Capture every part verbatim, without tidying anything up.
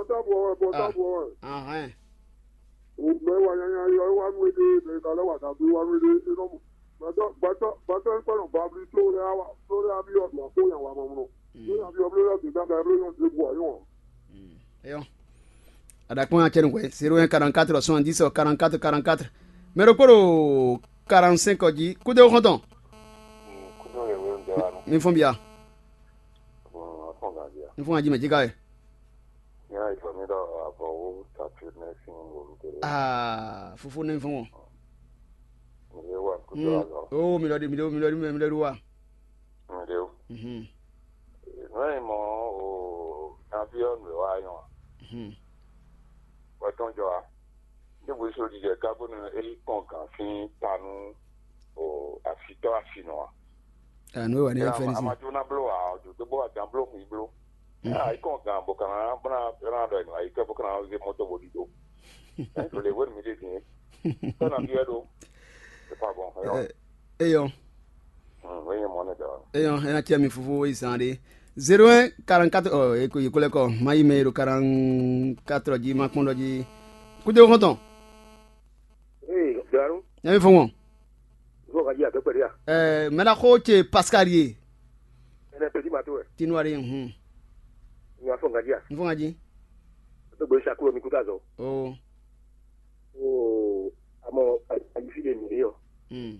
Bɔtɔ́ bɔ wɛ, bɔtɔ́ bɔ wɛ. Ahɛn. Mɛ wa nyanya yɔ é wá nú éɖée, mɛ ka lɛ́ wa dǎgbé wá nú éɖée, é nɔ mɔ. Gbɛtɔ́ gbɛtɔ́ gbɛtɔ́ é kpɛ́ nɔ babli tló lɛ́ɛ wá tló lɛ́ɛ wá byɔ́ ɖo axó nya wa mamlɔ. Tló nya byɔ́ bló lɛ́ɛ gběgbá ka bló nyɔ́ ɖěbǔ ǎ nyɔ́ ǎ. Eyɔ́. Aɖakpɔ́n acɛ nukwe zéro un quarante-quatre soixante-dix quarante-quatre quarante-quatre. Mɛ ɖokpó ɖo quarante-cinq jí. Kúdé xɔ́ntɔn. Kúdó yɛ wé ń jɛ wa nɔ. Mi fɔn bia. Afɔn gǎn bia. Mi fɔn ají mɛ jí ká wɛ. Ní àìsàn mi ɖɔ àbọ̀ owó tàbí mẹ́sìn olùkéré. Aa fúfú ní fún wọn. Ìwé wà kúdó àlọ́. Ó mi lọ di mi lọ mi lọ di mi lọ di wa. Ǹdè o. Mhm. Nǔ e mɔ o nyaví ɔ́ nǔ e wá nyɔ a? Mhm. Wɛ tɔn jɔ a? Ní bó so jijɛ ká bónú é yi kɔn gǎn sín ta nú o afitɔ́ asinɔ a? Anu e wà ní afɛn A ma sin. Jó ná bló a, ɔjó dó bó wà dán bló xwǐ bló. Mhm. A yi kɔn gǎn bó ka ná bó ná ná ɖɔ ɛ nɔ ayi kɛ bó ka ná zé mɔtò bó ɖiɖó. Ɛ tó lè wé mi ɖe dín. Tɔ́ ná byɔ́ ɖó. C'est pas bon. Ɛ, Eyɔn. Wé nyɛ mɔ ne dɔ. Eyɔn, ena tiɛ mi fofo yi zan ɖe. Zéro un quarante-quatre, ɔ, eko yi kolɛ kɔ. Ma yi mɛ ero quarante-quatre jí, ma kpɔn ɖɔ jí. Kúdé xɔntɔn. Ee, Dɔ̀rú, Nyɛ mi fɔn wɔn. Vɔ ka jí àgbẹ̀pẹ̀ rí à? Ɛ, mɛ na xo ce Pascal ye. Ɛnɛ pèdí màtó wɛ. Tinuari, hun. Ìyá fɔ nǹkan jí à? N fɔn jí. Tó gbé sakúrò mi kúta zɔ. O. Oo, àmọ́ àyífí lè mí rí ọ. Hmm.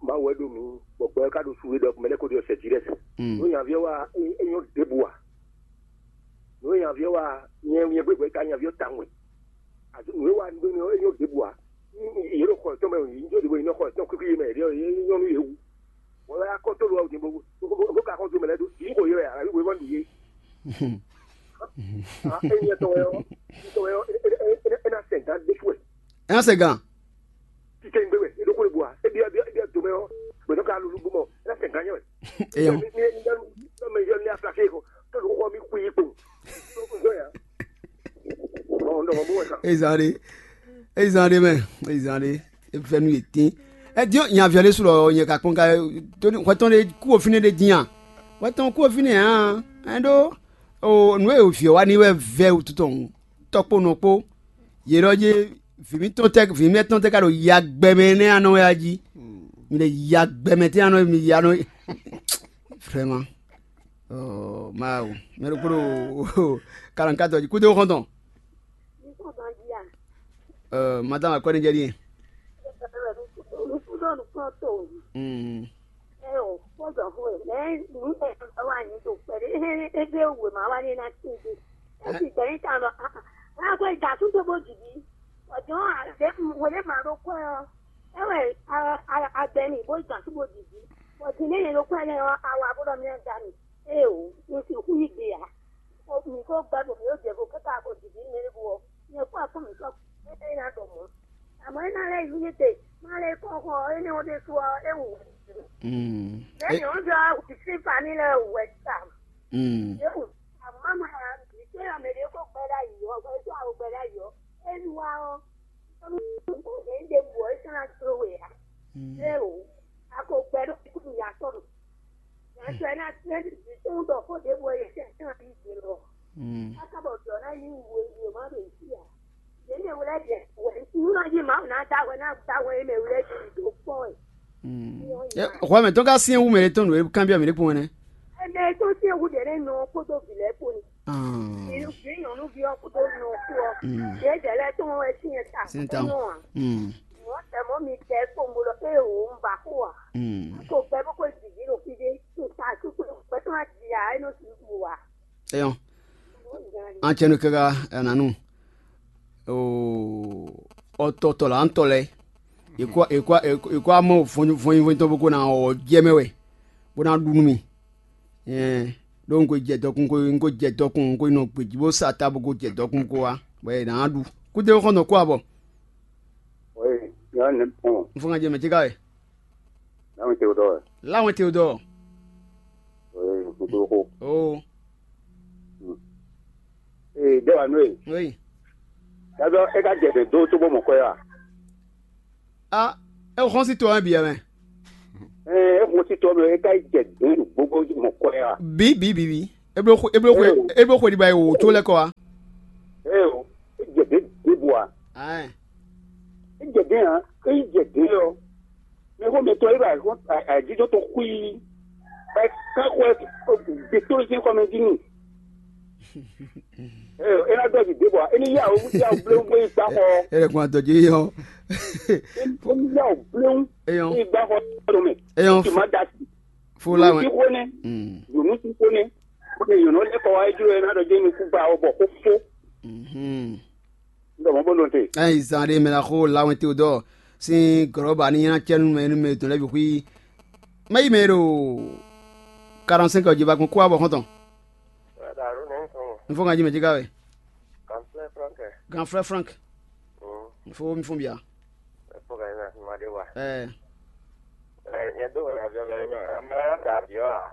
Máa wɛ ɖo mí, bɔ gbɛ ká ɖo su wé ɖɔ mɛ lɛ́ kó ɖi ọ̀sẹ̀ jí rẹ̀. Hmm. Nú nyaví ɔ́ wá, é nyɔ́ ɖěbǔ à. Nú nyaví ɔ́ wá, nyɛ nyɛ gbégbé ká nyaví ɔ́ tawun wɛ. Àti nǔ e wa nú é nyɔ́ ɖěbǔ ǎ. Yě ɖo xɔ yětɔn mɛ, yě nyí ɖěbǔ, yě nɔ xɔ yětɔn kwíkwí mɛ, yě ɖɔ yě nyɔ́ nú yě wú. Wọ́n wá kɔ́ tó lɔ ɔ́ din bó bó ka xɔ dó mɛ lɛ́ɛ dó. Yě kɔ yě wɛ ǎ, wí wɛ nú yě. Ényí tɔn wɛ ɔ́, tɔn wɛ ɔ́, é ná sɛn gán ɖésú wɛ. É ná sɛn gán. Títɛ ń gbé wɛ, é ɖó xó lè bu ǎ. É byɔ́ é byɔ́ é byɔ́ do mɛ ɔ́, gbɛ̌dɔ́ ka lulú bó mɔ, é ná sɛn gán nyɛ wɛ. Eyɔn. Mɛ yɔ ní aflakɛ kɔ, tó ló xɔ mi kú yí kpo. Tó kú zɔ ya. Ɔ, ndɔ mɔ bó wɛ kan. Ezan ɖe, ezan ɖe mɛ, ezan ɖe, efɛnu yě tín. Ɛ diɔ nyaviɔ ɖé su lɔ nyɛ ka kpɔn ka, tóni hwɛtɔn ɖé kú òfin ɖé dín a? Hwɛtɔn kú òfin ɖé hàn, ɛn ɖó o nǔ e vǐ ɔ́ wa ní wɛ vɛ wútu tɔn tɔkpó nɔ kpó. Yě ɖɔ jé vǐ mítɔn tɛ vǐ mítɔn tɛ ka ɖo ya gbɛmɛ nɛ́ anɔ wɛ a jí. Mi ɖe ya gbɛmɛ tɛ anɔ mi ya nɔ. Vraiment. Oh, Mawu. Mɛ ɖokpó ɖo quarante-quatre jí. Kúdó xɔntɔn. Madame akwɛ́ ní jɛ ɖíe. Mm. Eo, kpɔ́dɔ̀xó e, mɛ nǔ e wa nyi ɖo kpɛɖé, ebe wěma wa ní ná tín ɖe. Esi gbɛ̌ ní ta ɖɔ, aa, aa, xwe da sú dó bó jǐ jí. Bɔ jɔ̌n ǎ, ɖě hwelé ma ɖó kwɛ́ ɔ́, é wɛ agbɛ n'i bó da sú bó jǐ jí. Bɔ din nɛ́ nyɛ ɖó kwɛ́ lɛ́ɛ ɔ́, a wa bó ɖɔ mì ná da mì. Eo, un sixú yí gbe ǎ. Mǐ ko gbɛ́ ɖo mǐ ɖó jɛ vo káká ko jǐ jí nɛ́ bú ɔ́, nyɛ kpó afɔ mǐtɔn é ná ɖɔ mɔ̌. Àmọ́ é ná lɛ́ yí nyí te, má lɛ́ kɔ xɔ énɛ́ ɔ́ ɖésú ɔ́, é wǔ wɛ. Mm. Lɛ̌ É- nyɔ̌nu jɔ wǔ sí fani lɛ́ɛ wǔ wɛ ta. Mm. É wǔ àmọ́ má ma yà mǐ té ɔ́, mɛ ɖě kó gbɛ́ ɖ'ayǐ ɔ́, gbɛ́ tó awo gbɛ́ ɖ'ayǐ ɔ́, é nu wá ɔ́, é ɖe bǔ ɔ́, é sɔ́ ná tló we ǎ. Mm. É wǔ a ko gbɛ́ ɖó kúkú ya tɔn. Yǎtɔ́ ɛ ná tɛ́ ɖi tɔn ɖɔ xó ɖěbǔ ɔ́, yě sɛ́ tán yí gbe lɔ. Mm. Káká bɔ jɔ̌ ná yí wǔ e yě má ɖo yě sí ǎ. Yě mɛ wlɛ́ jɛ wɛ nú ná yí Mawu ná da wɛ ná da wɛ é mɛ wlɛ́ jɛ ɖo kpɔ́ wɛ. Mm. Ɛ, xɔ mɛ tɔn ka syɛ́n wú mɛ ɖé tɔn nǔ e kanbyɔ́ mɛ ɖé kpɔ́n wɛ nɛ́. Ɛ mɛ tɔn syɛ́n wú ɖě nɛ́ nɔ kpódó vǐ lɛ́ɛ kpó ni. Ah. Vǐ vǐ nyɔ̌nuví ɔ́ kpódó nɔ kpó ɔ́. Mm. Yě jɛ lɛ́ɛ tɔn wɛ syɛ́n ta. Syɛ́n ta. Kpó nɔ ǎ. Mm. Mɔ̌ tɛ mɔ̌ mi tɛ kpó un bo ɖɔ ée wǒ un ba xó ǎ. Mm. Ko gbɛ bó ko jǐ jí ɖo fí ɖé. To ta kpékpé gbɛtɔ́ ná jǐ ǎ, é nɔ sixú wú ǎ. Eyɔn. An cɛ nu kaka ananu. Oo, ɔtɔtɔ la ntɔ lɛ. Ekɔ ekɔ ekɔ amɔ vɔnyi vɔnyi tɔn bó ko na ɔ jɛ mɛ wɛ, bó ná ɖu nú mi. Ɛɛ, ɖó un ko jɛ dɔkun ko un ko jɛ dɔkun un ko nɔ gbèjì bó sa ta bó ko jɛ dɔkun ko wa, bɔ è nǎ ɖu. Kúdé xɔnɔ kó abɔ. Oui, yɔ ne pɔn. N fɔ ŋa jɛ mɛ jíká wɛ. Láwọn Théodore. Láwọn Théodore. Oui, kúdó kó. Oo. Ee, dé wa nú e. Oui. Yàtọ̀ e ka jẹ dó tó bó mọ̀ kọ́ yà. Ah, e xɔn si to ɛ bi ɛ mɛ. Ee, e xɔn si to ɛ mɛ e ka jɛ dó gbogbo mọ̀ kọ́ yà. Bi bi bi bi. E blo xwe e blo xwe e blo xwe di ba e wo tó lɛ kɔ wa. Eo, é jɛ dě ɖěbǔ ǎ. Aɛn. É jɛ dě ǎ, é yi jɛ dě ɔ́. Mɛ xó mɛtɔn é ɖo ayǐjínjɔ́n tɔn xwíí. Ɛ ká xwɛ gbětózín xɔmɛ jí n'i. Eo, é ná dɔ́ jǐ ɖěbǔ ǎ. É ní yá wǔ yá wǔ bléwún bó yi gbá xɔ. É lɛ́ kún adɔjé yɔ. É ní yá wǔ bléwún. Éyɔn. Bó yi gbá xɔ tɔn mɛ. Éyɔn. Tì má da sí. Fó lá wɛ. Yǒnú sí xó nɛ́. Mm. Yǒnú sí xó nɛ́. Xó nɛ́ yǒnú lɛ́ kɔ wá é jló ɛ ná ɖɔ jé mi kú gba ɔ bɔ xó fó. Mhm. Ndɔ mɔ bó nɔ te. Ɛyin zan ɖé mɛ la xó lawɛn Teodɔɔ sín gɔlɔba ní nylá cɛ nú mɛ nú mɛ tɔn lɛ́ɛ bǐ xwí. Mɛ yi mɛ ɖo quarante-cinq ɔ́ jí ba kún kó abɔ xɔ́ntɔn. Wɛɖa ɖo nɛ sɔn. N fɔ kan jí mɛ jí ká wɛ. Kan flɛ Frank. Gan frɛ Frank. Mm. N fɔ mi fún bia. Ɛ fɔ kan na ma de wa. Ɛ. Ɛ nyɛ do wɛ aviɔ mɛ ma. Mɛ da aviɔ a.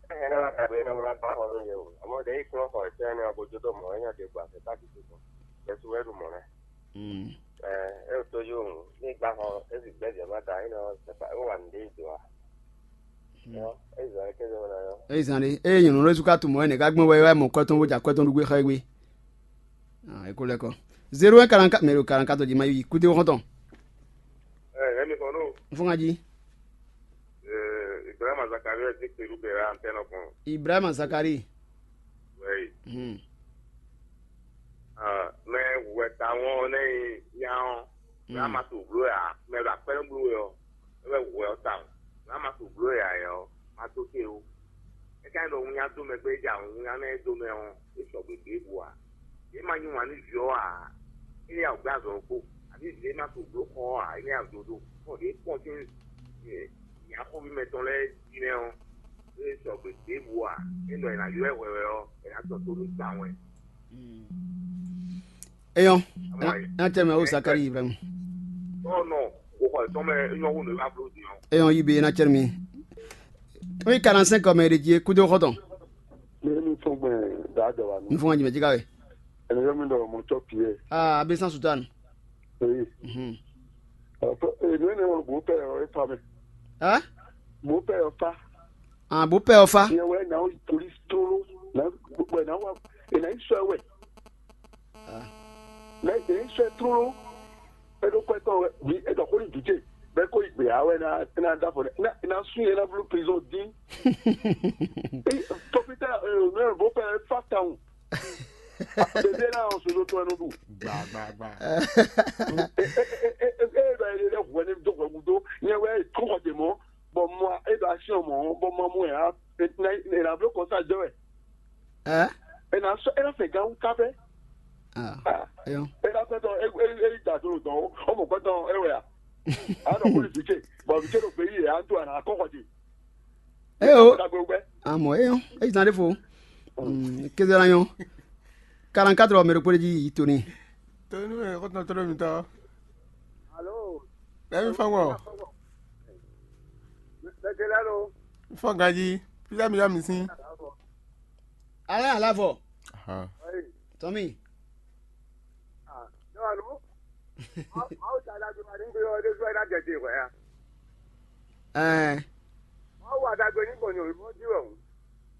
Ɛ nyɛ na ka be na ma ba xɔ no ye o. Amo de ikun xɔ tɛ ne ko jo do mo nya de gba se ta ki ko. Yesu wɛ ɖu mɔ nɛ. Mm. Ɛ e to yo ní gba xɔ e si gbɛ jɛ ma ta e nɔ se pa e wa nde do a. Mm. Yo e zan ke do na yo. Eyi zan ɖe eye nyɔ̌nu lɛ́ɛ su ka tunwun ɛ nɛ̌ ká gbɔn wɛ wɛ mɔ kɔ́tɔn bó ja kɔ́tɔn ɖu gbé xá ɛ gbé. Ah, é kó lɛ́ kɔ. Zéro un quarante-quatre mɛ ɖo quarante-quatre jí ma yi kúté xɔ́ntɔn. Ɛ ɛ mi kɔn ɖo. N fún ka jí. Ɛ Ibrahima Zakari wɛ dín kpelu bɛ wɛ antɛnɔ kɔn. Ibrahima Zakari. Wɛyi. Hmm. Ah, mɛ wɛ ta wɔn ne nya ɔn. Mɛ ama to blo ya, mɛ ɖo akpɛnɔ blo yɔ. Mɛ wɛ wɛ ɔ ta wɔn. Mɛ ama to blo ya yɔ, ma to te o. É ka nyí ɖɔ winnyá dó mɛ gbé é ja winnyá nɛ́ dó mɛ ɔ́, é sɔgbe ɖěbǔ ǎ. Yě ma yí wǎn nú vǐ ɔ́ ǎ, é ní ya wǔ gbé azɔ̌ ɔ́ kpó. Abǐ vǐ e ma to blǒ xɔ ɔ́ ǎ, é ní ya wǔ dó dó. Bɔ ɖě kpɔ́n sín nyǎxɔ́ví mɛtɔn lɛ́ɛ jí nɛ́ ɔ́, é sɔgbe ɖěbǔ ǎ. É nɔ è nǎ ylɔ́ ɛ hwɛhwɛ ɔ́, è nǎ tɔ tó nú tawun wɛ. Eyɔn, ná tɛ mɛ o Zakari Ibrahim. Ɔnɔ, o xɔ tɔn mɛ nyɔ wo nɔ ba blo di ɔn. Eyɔn yi be ná tɛ mi. Mi quarante-cinq mɛ de die kudo xɔtɔn. Mi mi fɔ gbɛ da dɔ wa N mi. Fɔ jimɛ jika we. Ɛnɛ yɔ mi dɔ mɔ tɔ piɛ. Ah, abe san sutan. Oui. Mhm. Ɔ, e ne ne wɔ bo pɛ ɔ e fa mɛ. Hein? Bo pɛ ɔ fa. Ah, bo pɛ ɔ fa. Yɛ wɛ na o police tolo. Na wɛ na wa e na isɔ wɛ. Mɛ e sɔ́ ɛ tlóló, é ɖó kwɛ́ tɔn wɛ, vǐ é ɖɔ xó n'i vǐ ce, bɔ é ko yi gbě ǎ wɛ ná é ná dó afɔ nɛ, é ná é ná sú nyɛ é ná bló prizɔn dín. Tɔpítà nǔ e bó fɛ é fá tawun. Bebí é ná ɔ́ sozo tɔn ɛ nɔ ɖu. Gba gba gba. É é é é é é ɖɔ é lɛ́ hwɛ ní dó hwɛ gúdo, nyɛ wɛ é tlú xɔ dě mɔ̌, bɔ mɔ é ɖo asyɔ́ mɔ̌, bɔ mɔ mɔ ɛ ná é ná é ná bló kɔnsá jɛ wɛ. Ɛ? É ná sɔ́ é ná fɛ gán wú ká fɛ. Ah, eyɔn. É ná fẹ́ tɔn é é é da do dɔn ó, ó mɔ gbɛtɔn é wɛ a? A nɔ kó vǐ ce, bɔ vǐ ce ɖo gbeyíɖe a ń tó a nǎ kɔ́ xɔ ce. Eyo. Dagbe gbɛ. Amɔ eyɔn, eyi zan ɖe fo. Mm, kéze la nyɔ. Quarante-quatre mɛ ɖokpó ɖe jí yi to n'i. To nú ɛ kɔtɔn tɔn mi tɔ. Alo. Lɛ mi fɔn wɔ. Mɛtɛlɛ lo. Fɔn ganji. Pisa mi yɔ mi sin. Alɛ alavɔ. Ahan. Tɔmi. Ah, yɔ alo. Awo ta dagbe ma ní gbé ɔ́ ɖé sɔ́ ɛ ná jɛ te hwɛ ya. Ɛɛ. Awo adagbe ní gbɔn nyɔ̌nu ɔ́ jí wɛ hǔn.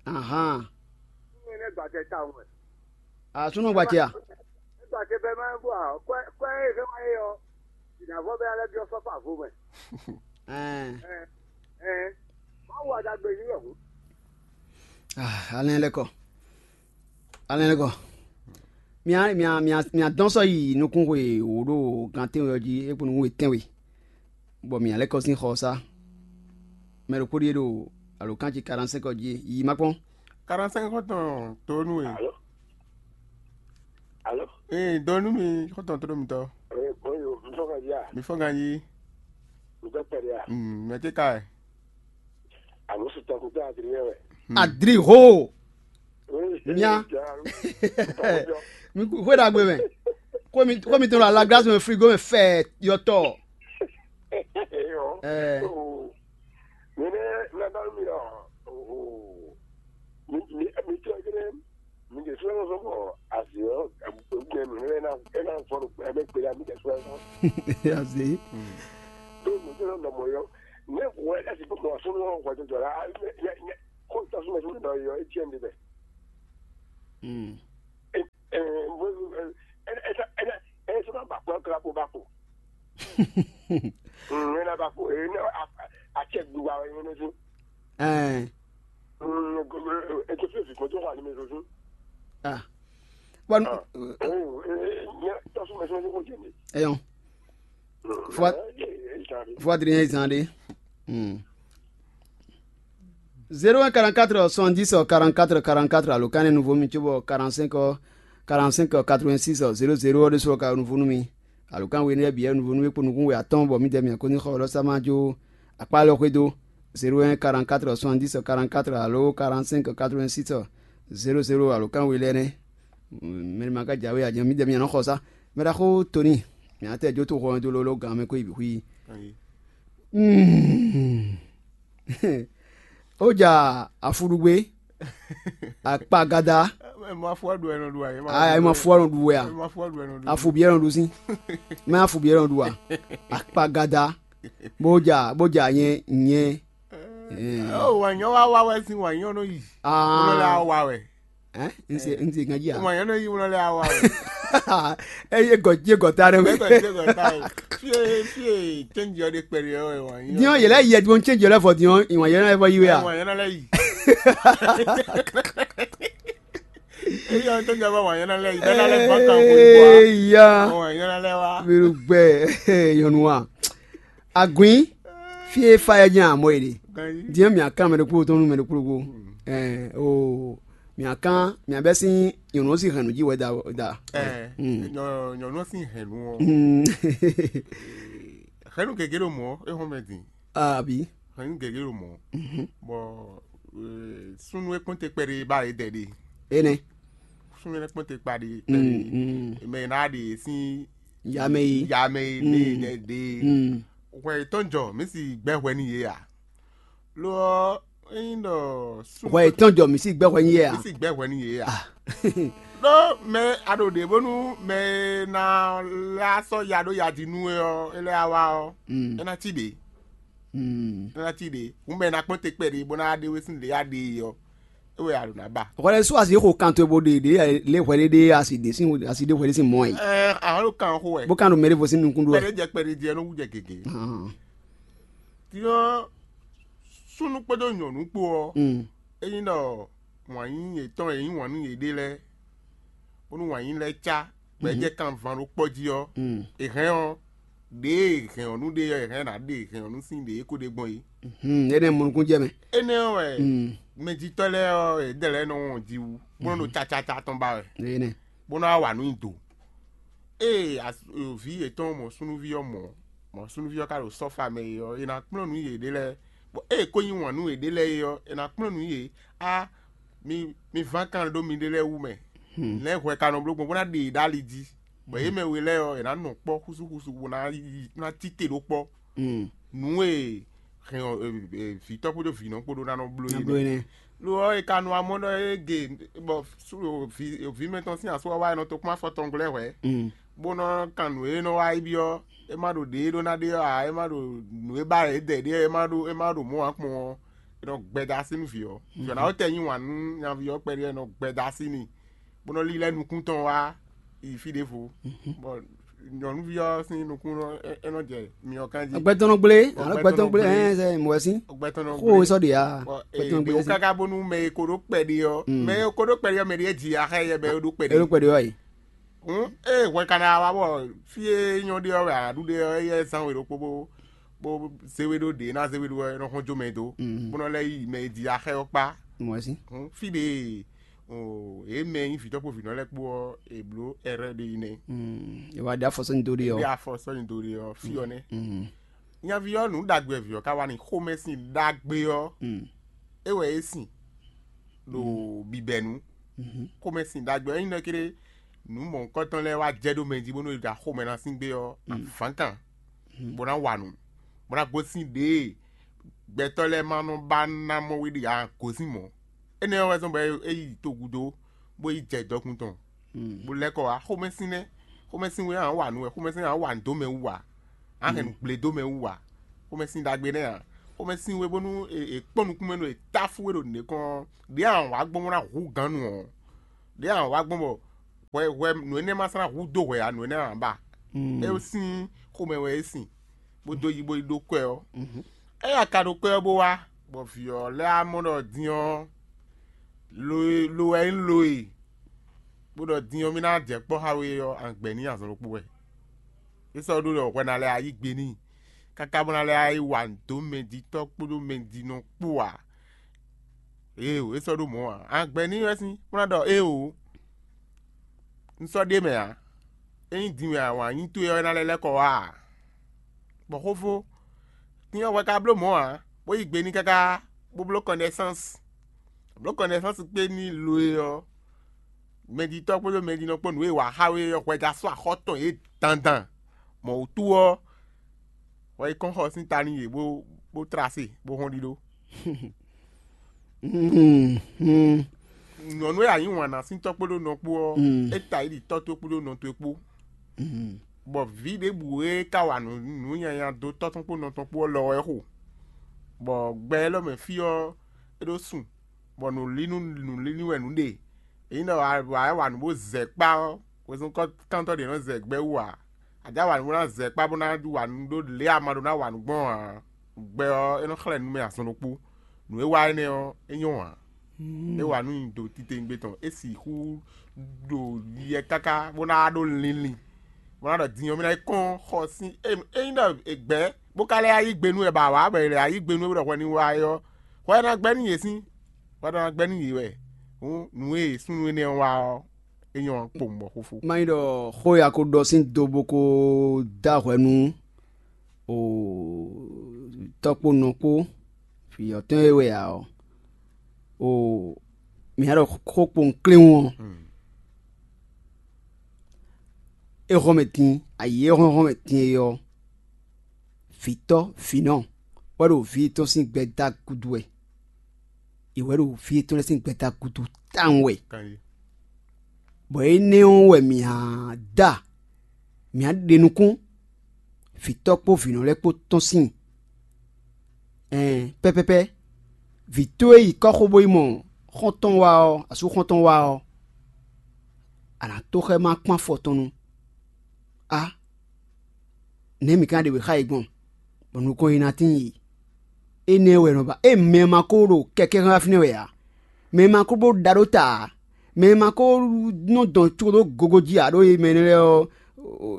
Ahan. Ní ɛnɛ gbàtɛ ta wɛ. Asúnú gbàtɛ a? Gbàtɛ bɛ máa ń bọ̀ à kọ́ ẹ kọ́ ẹ ẹ máa yọ. Ìdàgbọ́ bẹ́ẹ̀ alẹ́ bí ọ sọ́fà fún mẹ́. Ɛɛ. Ɛ ɛ. Awo adagbe ní wɛ hǔn. Ah, alɛ lɛ kɔ. Alɛ lɛ kɔ. Mia mia mia mia dɔn sɔ yi nukún xwe wò ɖo gan tɛnwe ɔ́ jí é kpo nukún xwe tɛnwe. Bɔ mia lɛ kɔ sín xɔ ɔ́ sá. Mɛ ɖokpó ɖíe ɖo alǒkan ce quarante-cinq ɔ́ jí yi ma kpɔn. Quarante-cinq xɔtɔn tó nú we. Alo. Alo. Ee, dɔ nú mi xɔtɔn tó nú mi tɔ. Ee, bonjour, mi fɔ ka ya. Mi fɔ ganji. Mi tɔ pɛrɛ ya. Mm, mɛ te ka ɛ. Alo sutɔ ko tɛ adriyɛ wɛ. Adri ho. Mia. Mi ku xwe ɖagbe mɛ. Ko mi ko mi to la la glace mɛ frigo mɛ fɛ yɔtɔ. Ɛɛ. Mi ne na da mi ɔ. Mi mi mi tɔ gɛnɛ. Mi de sɔrɔ sɔ bɔ azi ɔ. Gbɛ mi ne na e na fɔ gbɛ mi gbe la mi de sɔrɔ sɔ. Azi. Do mi de na mɔ yɔ. Ne wɔ ɛsi bɔ mɔ sɔrɔ wɔ jɔjɔ la. Ko ta suma suma dɔ yɔ e tiɛ mi de bɛ. Mm. Ɛ ɛ. Ŋmɛnɛ ba ko ene acɛ gbiwa wɛ ene zun. Ɛn. Ŋmɛnɛ ko fi fi ko to wa ni me zun. Ah. Bon, Ah. Oh, eh, ne to su me zun ko jeni. Eyon. Fwa- Fwa diri zan de. Hmm. Zéro un quarante-quatre soixante-dix quarante-quatre quarante-quatre, alo kan ne nouveau mi tso bɔ quarante-cinq quarante-cinq quatre-vingt-six zéro zéro de so ka nouveau numi. Alo kan we ne bia nouveau numi kpo nukun we atɔn bɔ mi dɛ mi ko ni xɔ lɔ sama jo akpa lɔ xwe do. Zéro un quarante-quatre soixante-dix quarante-quatre alo quarante-cinq quatre-vingt-six zéro zéro, alo kan we lɛ ne. Mɛ ma ka jawe a mi dɛ mi nɔ xɔ sa. Mɛ da xo Tony. Mi atɛ jo to xɔ do lolo gan me ko ibi hui. Ayi. Hmm. Ó jà afúɖúgbé, akpagada. Ẹ ma fɔ ɖu ẹ nɔ ɖu ayé. Ah, ẹ ma fɔ nɔ ɖu wɛ a? Ẹ ma fɔ ɖu ẹ nɔ ɖu. Afubiɛ nɔ ɖu sí. Mɛ afubiɛ nɔ ɖu a? Akpagada. Bó jà bó jà nyɛ nyɛ. Ó wà nyɔ wá wá wɛ sín wà nyɔ nɔ yi. Ah. Nɔ lɛ wá wɛ. Hein? N se n se ganji a? Wà nyɔ nɔ yi nɔ lɛ wá wɛ. Eye gɔ je gɔ ta ɖe. Ẹ gɔ je gɔ ta ɖe. Fie fie change yɔ de kpɛɖe yɔ wà nyɔ. Diɔn yɛlɛ yɛ diɔn change yɛlɛ fɔ diɔn ìwọ̀n yɛlɛ fɔ yi wɛ a? Wà nyɔ nɔ lɛ yi. Eyɔ tó jẹ bá wà nyɔ nɔ lɛ yi. Bẹ́ẹ̀ lálẹ́ gbọ́n kan kò yí wa. Eya. Wà nyɔ nɔ lɛ wa. Miru gbɛ yɔnu wa. Agun fie fa yɛ jẹ amɔ yi de. Ganji. Diɛ mi akan mɛ ɖokpó tɔn nu mɛ ɖokpó ɖokpó. Ɛ o mi akan mi abɛ sin yɔnu si hɛn nu ji wɛ da da. Ɛ Mm. Nyɔ- nyɔnu si hɛn nu ɔ. Mm. Hɛn nu gege ɖo mɔ e hɔn mɛ din. Abi. Hɛn nu gege ɖo mɔ. Mhm. Bɔ eh, sunu e kpɔn te kpɛɖe ba e dɛ de. Ene. Sunu e kpɔn te kpa de Mm, kpɛɖe. Mm. Mɛ na de sin Yame yi. Yame yi Mm. De de. Mm. Hwɛ tɔn jɔ mi si gbɛ hwɛ ni ye a. Lo ɔ eyin dɔ sunu Hwɛ tɔn jɔ mi si gbɛ hwɛ ni ye a. Mi si gbɛ hwɛ ni ye a. Ah. Ɖó mɛ a ɖo ɖě bónú mɛ e ná lɛ́ sɔ́ ya ɖó ya jí nú we ɔ́, é lɛ́ wá ɔ́, Mm. É ná cí ɖě. Mm. É ná cí ɖě. Hǔn mɛ e ná kpɔ́n te kpɛɖé bó ná ɖe we sín lě a ɖe e ɔ́, é wɛ a ɖǒ ná ba. Hwɛɖɛ sú asi xo kan towe bó ɖe ɖe lé hwɛɖé ɖe asi ɖe sín asi ɖe hwɛɖé sín mɔ yi. Ɛ àwọn ló kàn xo wɛ. Bó kan ɖo mɛ ɖé vo sín nukún ɖó wɛ. Kpɛɖé jɛ kpɛɖé jí ɛ nɔ wú jɛ gěgé. Ahan. Tí ɔ́ súnnu kpódó nyɔ̌nu kpó ɔ́, Mm. É nyí ɖɔ wǎn yí yětɔn e nyí wǎn nú yěɖée lɛ́ɛ, bónú wǎn yí lɛ́ɛ cá, bɔ é Mm. Jɛ kanvan ɖó kpɔ́ jí ɔ́, Mm. È hɛn ɔ́, ɖěe è hɛn ɔ́ nú ɖe ɔ́, è hɛn ná ɖe è hɛn ɔ́ nú sín ɖě é ko ɖe gbɔn é. Hmm, énɛ́ mɔ nukún jɛ mɛ. Énɛ́ ɔ́ wɛ Mm. Mɛjitɔ́ lɛ́ɛ ɔ́, yě dɛ lɛ́ɛ nɔ wɔn ji wú, bó nɔ ɖo cacaca tɔn ba wɛ, Énɛ́. Bó nɔ wá wa nǔ nyi do. Ée as- vǐ yětɔn mɔ súnnuví ɔ́ mɔ, mɔ súnnuví ɔ́ ka ɖo sɔ́fa mɛ é ɔ́, è nǎ kplɔ́n nǔ yěɖée lɛ́ɛ, bɔ ée è ko yí wǎn nú yěɖée lɛ́ɛ é ɔ́, è nǎ kplɔ́n nǔ yě. Á, mi mi ván kan ɖó miɖée lɛ́ɛ wú mɛ. Hmm. Lɛ̌ hwɛ ka nɔ bló gbɔn bó ná ɖe yě ɖó ali jí, bɔ yě mɛ we lɛ́ɛ ɔ́, è nǎ nɔ kpɔ́ xúsúxúsú bó ná yi- ná cí te ɖó kpɔ́. Hmm. Nǔ e hɛn ɔ, e, e, vǐtɔ́ kpódó vǐnɔ kpódó ná nɔ bló Ná yě bló nɛ́. Énɛ́. Lo ɔ́, è ka nɔ amɔ́ ɖɔ é ge bɔ sú- vǐ vǐ mɛtɔn sín asú ɔ́ wá, è nɔ tó kpɔ́n afɔ tɔn gblɛ́ hwɛ̌. Mm. Bó nɔ kan nǔ e nɔ wá yi byɔ́, é má ɖo ɖě e ɖó ná ɖe ɔ́ ǎ, é má ɖo nǔ e ba yě dɛ ɖé ɔ́, é má ɖo é má ɖo mɔ̌ ǎ kpɔn ɔ́, è nɔ gbɛda así nú vǐ ɔ́. Vǐ ɔ́ ná wɛ tɛ nyí wǎn nú nyaví ɔ́ kpɛɖé ɔ́, è nɔ gbɛda así n'i, bó nɔ lílɛ́ nukún tɔn wá yi fí ɖěvo. Bɔ nyɔ̌nuví ɔ́ sín nukún ɔ́, é- é nɔ jɛ myɔ kan jí. Gbɛtɔnɔ gblé, alo gbɛtɔnɔ gblé, ɛ, ɛ, mɔgɔ sí. Gbɛtɔnɔ Xó gblé. Sɔ ɖe ya. Bɔ, Gbɛtɔnɔ ee, gblé mɛ sí. Káká bónú mɛ e ko ɖó kpɛɖé ɔ́, Mm. Mɛ e ko ɖó kpɛɖé ɔ́, mɛ ɖé jí axá yɛ bɛ é ɖó kpɛɖé. Elo kpɛɖé ɔ́ yi. Hǔn ée hwɛ ka ná wá bɔ fí e nyɔ ɖe ɔ́ wɛ aɖu ɖe ɔ́, éyɛ́ zán we ɖokpó bó bó zé we ɖó ɖě ná zé we ɖó ɔ́, é nɔ xɔ́n jó mɛ dó, Mm. Bó nɔ lɛ́ yi mɛ e jí axá ɔ́ kpá. Mɔgɔ sí. Hǔn fí ɖě o, yě mɛ e nyí vǐtɔ́ kpó vǐnɔ lɛ́ɛ kpó ɔ́, è blǒ ɛrɛ́ ɖé yi nɛ́. Mm. È wá ɖe afɔ sɔ́ nyi do ɖe Ɖé ɔ́. Afɔ sɔ́ nyi do ɖe ɔ́, fí ɔ́ nɛ́. Mm. Nyaví ɔ́, nǔ ɖagbe vǐ ɔ́ ka wá n'i, xomɛsin ɖagbe ɔ́, Mm. É wɛ é sin ɖo bibɛnu. Mhm. Xomɛsin ɖagbe ɔ́, ényí nɔ kéré nǔ mɔ̌hunkɔtɔn lɛ́ɛ wá jɛ ɖó mɛ jí bónú è ɖo axomɛ ná sín gbé ɔ́, Mm. Avǎnkan, Mm. Bó ná wa nǔ, bó ná gosín ɖěe gbɛtɔ́ lɛ́ɛ ma nɔ ba ná mɔ we ɖe ǎ, gosín mɔ̌. Énɛ́ ɔ́ wɛ zɔ́n bɔ é yi togúdo, bó yi jɛ dɔkun tɔn, Mm. Bó lɛ́ kɔ wá. Xomɛsin nɛ́, xomɛsin we ǎ wa nǔ wɛ, xomɛsin ǎ wa nǔ dó mɛ wú ǎ, á hɛn nǔ gblé dó mɛ wú ǎ. Xomɛsin ɖagbe nɛ́ ǎ. Xomɛsin we bónú è è kpɔ́n nukún mɛ nú è táfú we ɖo nǔɖé kɔn ɔ́, ɖě ǎ wǎ gbɔn bó ná hu gǎn nu ɔ́, ɖě ǎ wǎ gbɔn bɔ hwɛ hwɛ nǔ énɛ́ ma sɔ́ ná hu dó hwɛ ǎ, nǔ énɛ́ ǎ ba. Mm. É sín xomɛ wɛ é sin, bó dó yi bó yi ɖó kwɛ ɔ́. Ée a ka ɖo kwɛ ɔ́ bó wá, bɔ vǐ ɔ́ lɛ́ wá mɔ ɖɔ din ɔ́, lo e lo wɛ nyí lo e, bó ɖɔ din ɔ́ mì ná jɛ kpɔ́ xá we ɔ́, a gbɛ n'i azɔn ɖokpó wɛ. É sɔ́ ɖó ɖɔ hwɛ ná lɛ́ wá yí gbe n'i, káká bó ná lɛ́ wá yi wa nǔ dó mɛjitɔ́ kpódó mɛjinɔ kpó ǎ. Éeǒ, é sɔ́ ɖó mɔ̌ ǎ. A gbɛ n'i wɛ sín, bó ná ɖɔ éeǒ, un sɔ́ ɖ'é mɛ ǎ. Ényí din wɛ a wǎn nyí towe ɔ́, é ná lɛ́ lɛ́ kɔ wá ǎ. Bɔ xófó, din ɔ́ hwɛ ka bló mɔ̌ ǎ, bó yi gbe n'i káká, bó bló kɔnɛsáns. Bló kɔnɛsáns kpé n'i lo e ɔ́, mɛjitɔ́ kpódó mɛjinɔ kpó nǔ e è wa xá we ɔ́ hwɛ jɛ asú axɔ́ tɔn yě dandan. Mɔ̌ wútu ɔ́, hwɛ yi kɔn xɔ sín ta n'i yě bó bó tlá se bó hɔn ɖiɖó. Nyɔ̌nu e a yǐ wǎn ná sín tɔ́ kpódó nɔ kpó ɔ́, é ta yi ɖi tɔ́ towe kpódó nɔ towe kpó. Bɔ vǐ ɖěbǔ e ka wa nǔ nǔ nyanya dó tɔ́ tɔn kpó nɔ tɔn kpó ɔ́ lɔ wɛ xo, bɔ gbɛ élɔ́ mɛ fí ɔ́, é ɖó sun, bɔ nǔlínú nǔlíní wɛ nǔ ɖe. Ényí ɖɔ wǎ wǎ wa nǔ bó zɛ kpá ɔ́, wezun kɔ́ntɔ́ ɖě nɔ zɛ gbɛ wú ǎ. A jǎ wa nǔ bó ná zɛ kpá bó ná wa nǔ ɖó lě e a ma ɖó ná wa nǔ gbɔn ǎ. Gbɛ ɔ́, é nɔ xlɛ́ nú mɛ azɔn ɖokpó. Nǔ e wa énɛ́ ɔ́, é nyɔ́ ǎ. É wa nú nyi do titewungbe tɔn, é sixú ɖo yɛ káká bó ná wá ɖó linlin, bó ná ɖɔ din ɔ́ mì ná yi kɔn xɔ sín ényí ɖɔ è gbɛ̌ bó ka lɛ́ yá yí gbe nú wɛ bɔ awǎ bɔ è lɛ̌ yá yí gbe nú wɛ bó ɖɔ hwɛ ní wá é ɔ́, hwɛ ná gbɛ́ nú yě sín, hwɛ ná gbɛ́ nú yě wɛ. Hǔn nǔ e súnnu énɛ́ ɔ́ wa ɔ́, é nyɔ́ kpowun bɔ xófó. Má nyí ɖɔ xó e a ko ɖɔ sín do bó ko dó ahwɛ nú o tɔ́ kpó nɔ kpó vǐ ɔ́ tɔn e wɛ ǎ ɔ́, o mǐ ná ɖɔ xó kpowun kléwún ɔ́, é hɔn mɛ din, ayǐ e hɔn hɔn mɛ din é ɔ́, vǐtɔ́ vǐnɔ wɛ ɖo vǐ yětɔn sín gbɛdá gúdo wɛ. È wɛ ɖo vǐ yětɔn lɛ́ɛ sín gbɛdá gúdo tawun wɛ. Bɔ énɛ́ ɔ́ wɛ mǐ á da, mǐ á ɖe nukún vǐtɔ́ kpó vǐnɔ lɛ́ɛ kpó tɔn síin. Ɛn pɛ́pɛ́pɛ́, vǐ towe yi kɔ́xo bó yi mɔ xɔ́ntɔn wá ɔ́, asú xɔ́ntɔn wá ɔ́, a nǎ tó xá ɛ má kpán afɔ tɔn nu. A nɛ̌ mǐ ka ɖe wě xá yě gbɔn, bɔ nukɔn yi ná tíin yi? Énɛ́ wɛ nɔ ba ée mɛ ma ko ɖo kɛkɛ́ xá fínɛ́ wɛ ǎ. Mɛ ma ko bó ɖa ɖó ta ǎ. Mɛ ma ko nɔ dɔn có ɖó gogo jí ǎ ɖó mɛ énɛ́ lɛ́ɛ ɔ́,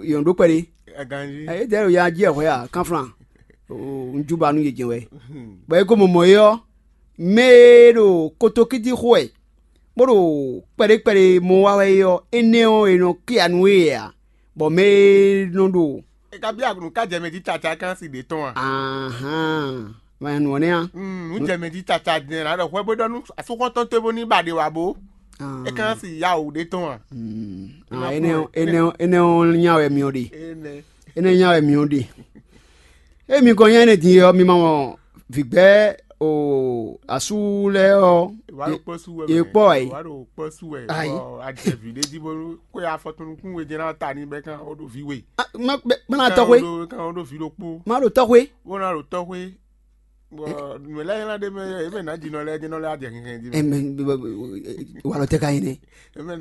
yě nɔ ɖó kpɛɖé. Aganjí. Édɛɛ ɖo ya jí ɛ hwɛ a kánflán. Un jú ba nú yě jɛ́n wɛ. Bɔ é ko mɔ mɔ̌ é ɔ́, mɛ e ɖo kotokíti xo wɛ, bó ɖo kpɛɖé kpɛɖé mɔ wa wɛ é ɔ́, énɛ́ ɔ́, è nɔ kíya nú we ǎ, bɔ mɛ e nɔ ɖo E ka byɔ́ nǔ ka jɛ mɛ jí caca é ka ná si ɖě tɔn a? Ahán, ma nɔ nɛ́ a? Mm, nǔ jɛ mɛ jí caca din ná ɖɔ hwɛ bó ɖɔ nú asúxɔ́ntɔn towe bó ní ba ɖe wǎ bó. É ka ná si ya wǔ ɖě tɔn a? Énɛ́ ɔ́, énɛ́ ɔ́, énɛ́ ɔ́ nya wɛ myɔ ɖe. Énɛ́. Énɛ́ nya wɛ myɔ ɖe. Emi kɔn nya énɛ́ din ɔ́, mi ma mɔ vǐgbɛ́ o asú lɛ́ɛ ɔ́. Wà á ɖo kpɔ́ sú wɛ. Yě kpɔ́ ɛ. Wà á ɖo kpɔ́ sú wɛ. Ayi. Bɔ a jɛ vǐ ɖé jí bónú xwé afɔtɔnukún we jɛ́n ná ta ní bɛ́ kán ó ɖo vǐ we. Má ná tɔxwé. Kán ó ɖo vǐ ɖokpó. Má ɖo tɔxwé. Bó ná ɖo tɔxwé. Bɔ nǔ lɛ́ɛ ylá ɖé mɛ é mɛ nǎ jinɔ lɛ́ɛ jinɔ lɛ́ɛ á jɛ hinhɛn jí mɛ. Walɔ tɛ ka yin nɛ.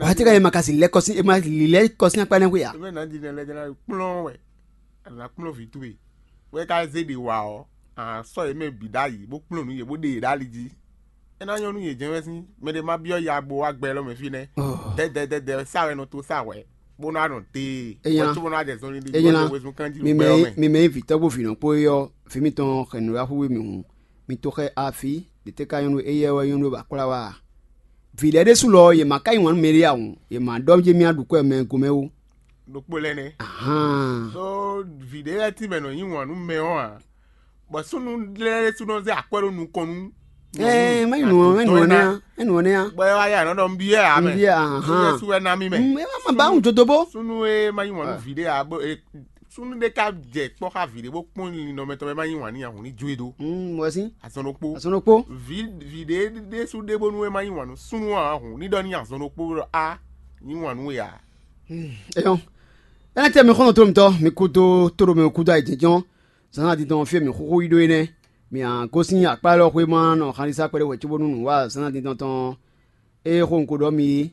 Wa tɛ ka yin ma ka si lɛ kɔsi ma li lɛ kɔsi akpa nɛ xwe ya. É mɛ nǎ jinɔ lɛ́ɛ jinɔ kplɔ́n wɛ. A nǎ kplɔ́n vǐ towe. Wɛ ka zé ɖe wa ɔ́, a sɔ́ yě mɛ bǐ ɖ'ayǐ bó kplɔ́n nǔ yě bó ɖe yě ɖ'ali jí. É ná nyɔ́ nú yě jɛ́n wɛ sín mɛ ɖé má byɔ́ ya bo wá gbɛ lɔ mɛ fínɛ́. Dɛdɛdɛdɛ sa wɛ nɔ tó sa hwɛ, bó ná nɔ dee. Wɛ tó bó ná jɛ zɔnlin ɖi bó wezun kanjí ló gbɛ ɔ́ mɛ. Mi mɛ nyí vǐtɔ́ kpó vǐnɔ kpó é ɔ́, vǐ mitɔn hɛn nǔɖaxú we mǐ hun. Mi to xɛ afi, ɖě tɛ́ ka nyɔ́ nú éyɛ́ wɛ nyɔ́ nú bɔ akwlá wa a? Vǐ lɛ́ɛ ɖésú lɔ ɔ́, yě ma ka nyi wǎn nú mɛɖé ǎ hǔn, yě ma ɖɔ jé mì aɖǔkwɛ mɛ gomɛ ó. Ɖokpó lɛ́ɛ nɛ́. Ahán. Ɖó vǐ ɖé lɛ́ɛ tínmɛ nɔ nyi wǎn nú mɛ ɔ́ ǎ, bɔ súnnu lɛ́ɛ ɖésú nɔ zé akwɛ́ ɖó nukɔn nú. Ɛɛ, má nyi nǔ ɔ́, má nyi nǔ ɔ́ nɛ́ á, má nyi nǔ ɔ́ nɛ́ á. Bɔ é wá yá nɔ ɖɔ nbí ɛ ǎ mɛ. Nbí ɛ ahán. Yɛsu wɛ ná mì mɛ. Mm, é má má ba wún jodo bó. Súnnu e má nyi wǎn nú vǐ ɖé ǎ bó e súnnu ɖé ka jɛ kpɔ́ xá vǐ ɖé bó kpɔ́n linlin nɔ mɛ tɔn mɛ má nyi wǎn n'i ǎ hǔn ní jó e dó. Mm, wɛ sín. Azɔn ɖokpó. Azɔn ɖokpó. Vǐ vǐ ɖé ɖésú ɖé bónú é má nyi wǎn nú súnnu ǎ hǔn ní ɖɔ n'i azɔn ɖokpó ɖɔ á nyi wǎn nú we ǎ. Eyɔn. Ena tɛ mi xɔnɔ to mitɔ mi kudo to ɖo mi kudo ayi jɛnjɔn. Zan adi tɔn fie mi xuxu yi ɖo enɛ. Mi a gosin akpa lɔ xwe ma nɔ xalisa kpɛɖe wɛ cóbónú nǔ wa zan adi tɔn tɔn. Eye xo un ko ɖɔ mi é.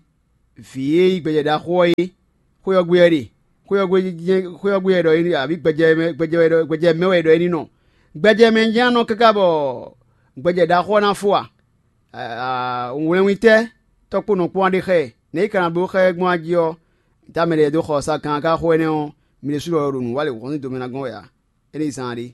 Vǐ e yí gbɛjɛ ɖaxó ɔ́ é. Xwé ɔ́ gbe wɛ ɖe. Xwé ɔ́ gbe jɛ́n xwé ɔ́ gbe wɛ ɖɔ é ní, abǐ gbɛjɛ mɛ gbɛjɛ wɛ ɖɔ gbɛjɛ mɛ wɛ ɖɔ é ní nɔ. Gbɛjɛ mɛ jɛ́n ná nɔ káká bɔ gbɛjɛ ɖaxó ɔ́ ná fó a? Wlɛnwítɛ́ tɔ́ kpó nɔ kpɔ́n ɔ́ ɖe xá ɛ. Nɛ̌ é ka ná bló xá ɛ gbɔn a jí ɔ́, dá mɛ lɛ́ɛ dó xɔ sa kan ká xo énɛ́ ɔ́, mi ɖésú lɔ ɖo nǔ wa lě hɔn sín do mɛ ná gɔ́n wɛ ǎ. É ní zán a ɖé.